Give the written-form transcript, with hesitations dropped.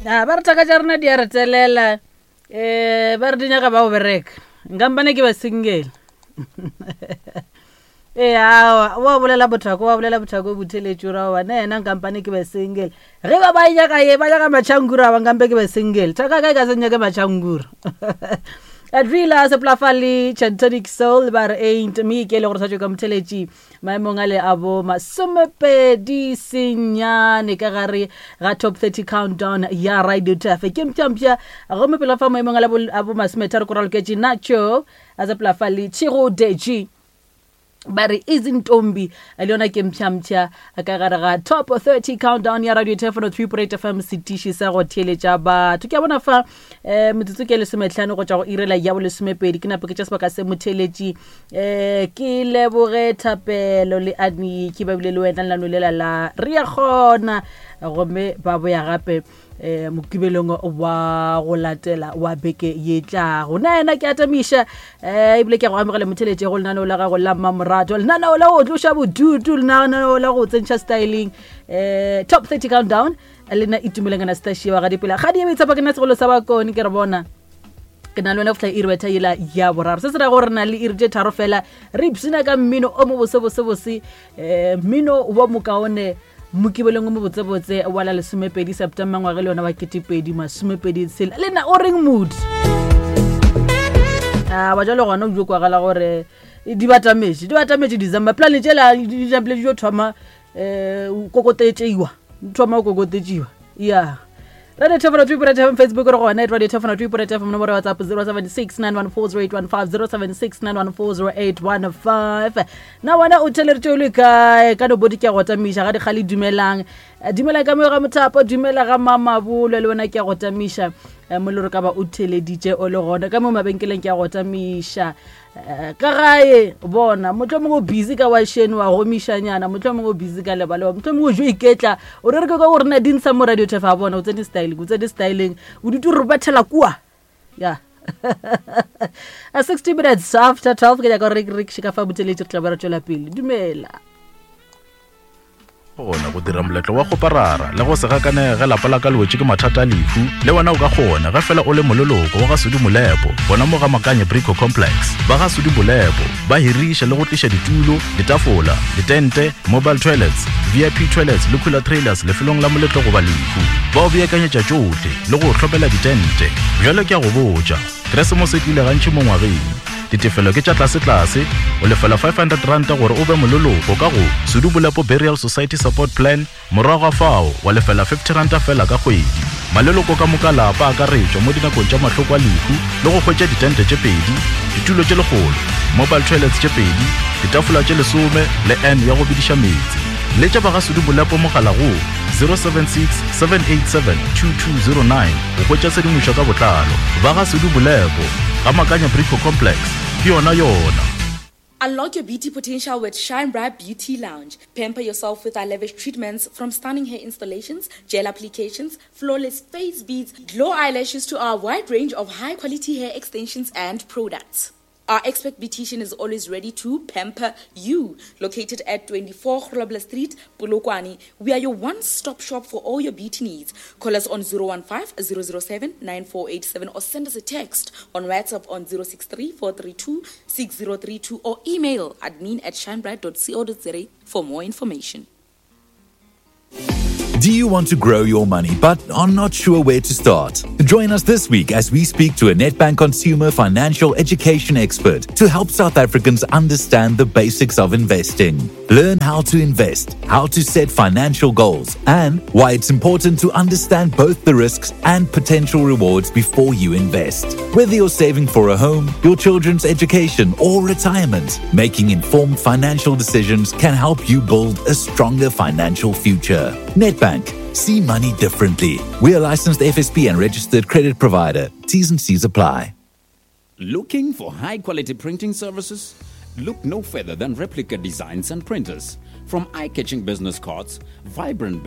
A ba re thaka tša rena di a re telela um ba re di nyaka ba go bereka nkampane ke ba single ee awa wa bolela bothako wa bolela bothako botheletšo ra wa ne yena nkampane ke ba single ge ba ba nyaka ye ba nyaka matšhangura ba nkampe ke ba single thaka ka e ka se nyake matšhangura adrila seplafale chantonic soul ba re ain't me ke le gore sa tšwe ka motheletši maemong a le a bo masomepedi senyane ka gare ga top 30 countdown ya radio tafe ke mpšampša gomme pele fa maemong a le a bo masometharo ko raloketše nacho a sepela le tšhego deji ba re izintombi le yona ke mpšhampšha ka gare ga top 30 countdown ya radio telefono 3.8 fm setiši sa go theeletša batho ke a bona fa um metsotso ke lesometlhano go tšwa go irela ya bolesomepedi ke nape ke tša sebaka se motheeletši um ke leboge thapelo le aniki ba bile le wena lenano lela la re ya kgona gomme ba boya gape um mokibelong wa go latela wa beke ye tlago na yena ke atamiša um ebile ke a go amogela motheletše go lenaneo la gago la mmamorato lenaneo la go tloša bodutu lenaneo la go tsentšha styling um top 30 countdown le nna itumeleng kana setašie wa gadipela ga di ebe tshepa ke nna segolo sa bakone ke re bona ke na le wena go fihla iri betha yela ya boraro se se ra gore re na le iri tše tharo fela re ipshina ka mmino o mo bosebosebose um mmino wa mokaone mokibelong o mobotsebotse wa la lesomepedi september ngwage le yona wa ketepedi masomepedi tshela le na o reng mood a ba jalo gona o jo kwagala gore di batametše di batametše december plane tšela di napile di jo thoma um kokotetšeiwa thoma go kokotetšiwa ya radio tefano 3 point fm facebook re gona at radio tefano 3 point fm nomoro ya whatsapp 076 914 0815 076 914 0815 na wena o theleditše o le kae ka no bodi ke a go tamiša ga dikgale dumelang Eh, dumela ka moyo ga mothapo dumela ga mamabolo le wena ke a go tamiša Eh, mo le gore ka ba o theleditše o le gona ka mo mabenkeleng ke a go tamiša Eh, ka gae bona motlho mongwe o busy ka washene wa gomišanyana motlho mongwe o busy ka lebalewa motlho mongwe o jo iketla o re re ke ka gore na di ntsha mo radio tefa bona o tsene styling o tsene styling o dute re bethela kua ya a 60 minutes after 12 ke nyaka gore re re ka fa boteletše re tla ba re tšwela pele dumela kgona go dira moletlo wa kgoparara le go se gakanege ge lapa la ka le wetše ke mathata a lehu le wena o ka kgona ge fela o le moleloko wa ga Sudi Molepo gona mo ga Makanye Brico Complex ba ga Sudi Molepo ba hiriša le go tliša ditulo ditafola ditente mobile toilets VIP toilets le cooler trailers lefelong la moletlo goba lehu ba o beakanyetša tšohle le go o hlopela ditente bjale ke a go botša Keresemose e tlile gantši mo ngwageng. Ditefelo ke tša tlasetlase, o lefela R500 gore o be moleloko ka go Sudu Bolepo Burial Society Support Plan, morago ga fao wa lefela R50 fela ka kgwedi. Maleloko ka moka lapa a akaretšwa mo dinakong tša mahloko a lehu le go hwetša ditente tše pedi, ditulo tše lekgolo, mobile toilets tše pedi, ditafola tše lesome le urn ya go bediša meetse. Letša ba ga Sudu Bolepo mogala go 076 787 2209 go hwetša tshedimošo ka botlalo. Ba ga Sudu Bolepo, ga Makanya Brico Complex, ke yona yona. Unlock your beauty potential with Shine Bright Beauty Lounge. Pamper yourself with our lavish treatments from stunning hair installations, gel applications, flawless face beads, glow eyelashes to our wide range of high quality hair extensions and products. Our expert beautician is always ready to pamper you. Located at 24 Grobler Street, Polokwane, we are your one-stop shop for all your beauty needs. Call us on 015 007 9487 or send us a text on WhatsApp on 063 432 6032 or email admin at shinebright.co.za for more information. Do you want to grow your money but are not sure where to start? Join us this week as we speak to a Nedbank consumer financial education expert to help South Africans understand the basics of investing. Learn how to invest, how to set financial goals, and why it's important to understand both the risks and potential rewards before you invest. Whether you're saving for a home, your children's education, or retirement, making informed financial decisions can help you build a stronger financial future. Nedbank. See money differently. We are licensed FSP and registered credit provider. T's and C's apply. Looking for high quality printing services? Look no further than Replica Designs and Printers. From eye catching business cards, vibrant